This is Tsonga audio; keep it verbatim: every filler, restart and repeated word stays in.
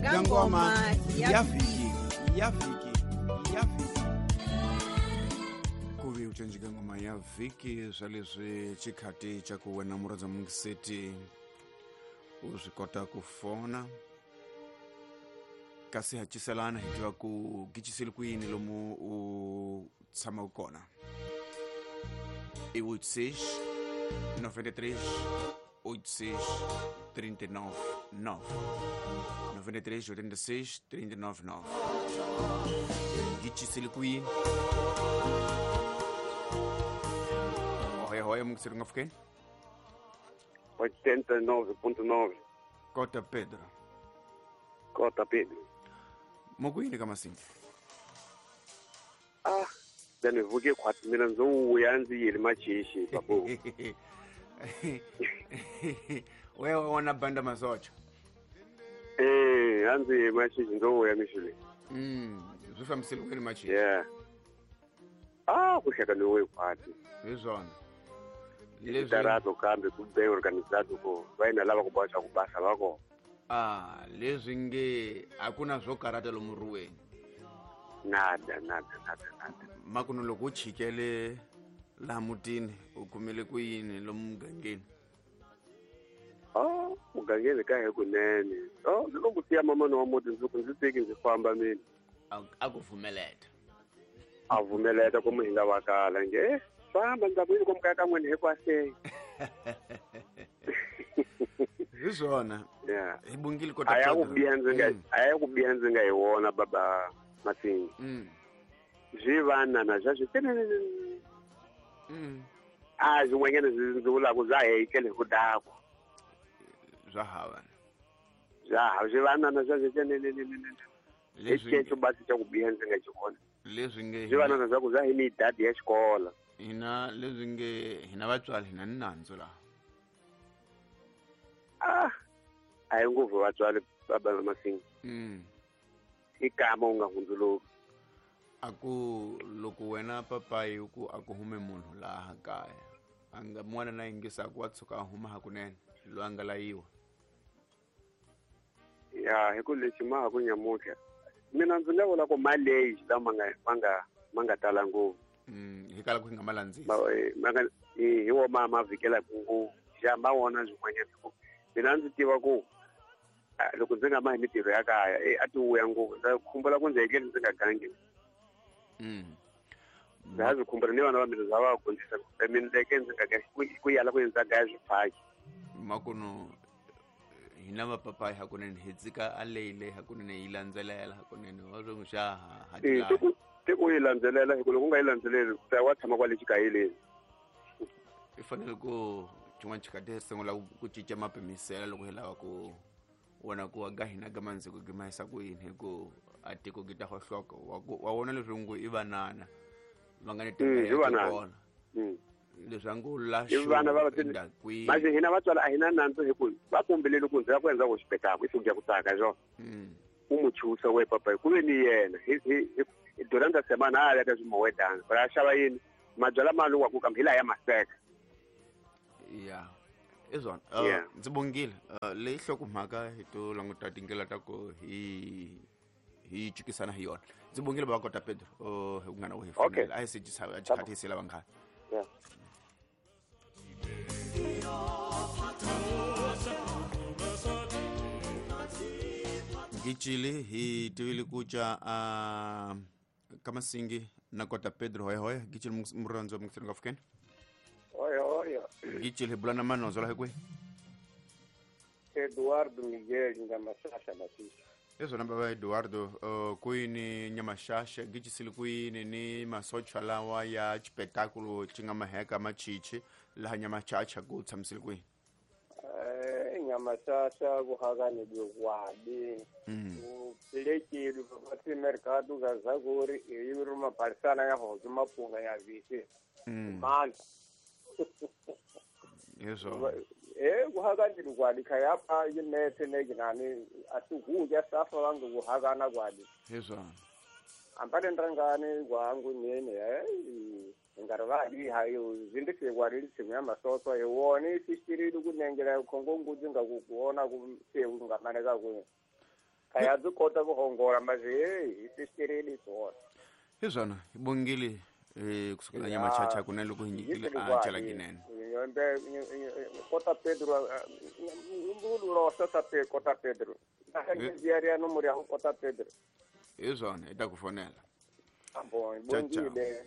ga ngoma ya vhiki ya vhiki ya vhiki kuvi ucenjika ngoma ya vhiki swa leswi xikhati xa ku wena murhandza mungiseti u swi kota ku fona kasi haciselana hi tiva ku gicisile kwini lomu u tshamaka kona i oito seis noventa e três oito seis trinta e nove nove noventa e três oitenta e seis trinta e nove nove gicisile kwini hoya hoya mungiseti nga fukeni oitenta e nove ponto nove Cota Pedro Cota Pedro Mokwini ka Masinga Ah then vuke khwati mina ndzo vuya ndzi yele machishi babu wewe wona banda masocha eh anzi machishi ndzo vuya mishule mm zwi fambisile kwini machishi yeah ah kushaka niwe khwati hi swona leswi tarato kambe ku be organizado ko vaina lava ku basa ku basa va kona ah leswi nge akuna swo karata lomu ruweni nada nada nada nada makuno loko u chikele laha mutini u kumele ku yini lomu mugangeni oh mugangeni ka hi kunene oh ndzi lo ku siya mamana wa muti ndzi ku ndzi teki ndzi famba mina a ku pfumeleta a pfumeleta ku mi hi nga vakala nge famba ndza ku yini ko mukaya ka n'wina hikwasei hi swona yeah hi bungile kota a ya ku biha ndzi nga a ya ku biha ndzi nga hi wona baba Masinga mm swi vanana swa swi mm a swin'wanyana ndzi vulaka bya hekele hi ku dakwa bya hava bya hava swi vanana swa swi leswi xexo basi xa ku biha ndzi nga xi vona leswi nge swi vanana swa ku bya hi midadi ya xikolo hina leswi nge hina vatswari hina ni nandzu laha ah a hi ngopfu vatswari baba Masinga mm i kama u nga hundzuluki a ku loko wena papayi ku a ku hume munhu laha kaya a nga n'wana na yingisaku wa tshuka a huma hakunene loyi a nga layiwa ya hi ku lexi ma ha ku nyamutlha mina ndzi nga vula ku maleyi lama nga ma nga ma nga tala ngopfu mm hi kala ku hi nga ma landzisi ma nga hi wo ma ma vhikelaka ngopfu xa ma wona swin'wanyana hi ku mina ndzi tiva ku loko ndzi nga ma hi mintirho ya kaya a ti vuya ngopfu ndza khumbula ku ndzi hekeli ndzi nga gangi mm ndza ha swi khumbula ni vana va mina bya va dyondzisa mina leke ndzi nga ku yala ku ndza gaya swiphaki makuno hina vapapayi hakunene hi tsika a leyile hakunene yi landzelela hakunene wa swi n'wi xa ha ti ku yi landzelela hi ku loko u nga yi landzeleli ta wa tshama kwale xikayeleni i fanele ku xin'wana xikati hi sungula ku cinca mapimisela loko hi lava ku wona ku ga hina ga mandziko gi mahisa ku yini hi ku a tiko gi ta hohloka wa wona leswi ngo i vanana va nga ni teka ya kona leswi a ngo I vana va manje hina vatswari a hina nandzu hi ku va kombelele ku ndzi ya ku endla ku xipetaku i suku ya ku tsaka hi swona u mu chusa we papa ku ve ni yena hi hi durante semana a ya ka swimowetana ku ya xava yini mabyala ma lowa ku kambe hi laha ya maseka ya i swona ndzi bongile leyi hlokomhaka hi to languta tindlela ta ku hi hi cikisana hi yona ndzi bongile va kota Pedro hi ku nga na ku hi fonela a hi se xikhathi hi se lava nkhani yeah Gicili hi tivile ku ca a ka Masingi na kota Pedro hoya hoya Gicili murhandzi wa mungiseri nga fukeni hoya hoya Gicili hi bula na manonzo laha kwihi Eduardo Miguel Nyamasasa Masisi Ezona baba Eduardo uh, kwini Nyamasasa Gicisile kwini ni masocha lawa ya xipetakulo xi nga maheka machichi laha Nyamachacha ku tshamisile kwini eh Nyamasasa ku hakane byokwadi ku pilekile va mercado ga zakuri e ri mabalisana ya hozo mapunga ya visi mandla Yeso eh kuhakani kwadi khayapha yinethe nekinani asikuya safa vangu kuhakana kwadi Yeso ambale ndrangani kwangu nene eh ngarivali hayo zindise kwadi lisimu ya masoso ewone sishirili kunengela khongo ngudzi ngakukuona ku se ungamaneka ku Ka ya byi kota ku hongola mas hey hi sisitereni swona. Hi swona hi bongile eh kusukela Nyamachacha kuna loko hi nyikile a chala kinene. Kota Pedro mbulu ta pe kota Pedro. Na nomoro ya kota Pedro. Hi swona hi ta ku fonela. Bon, bongile.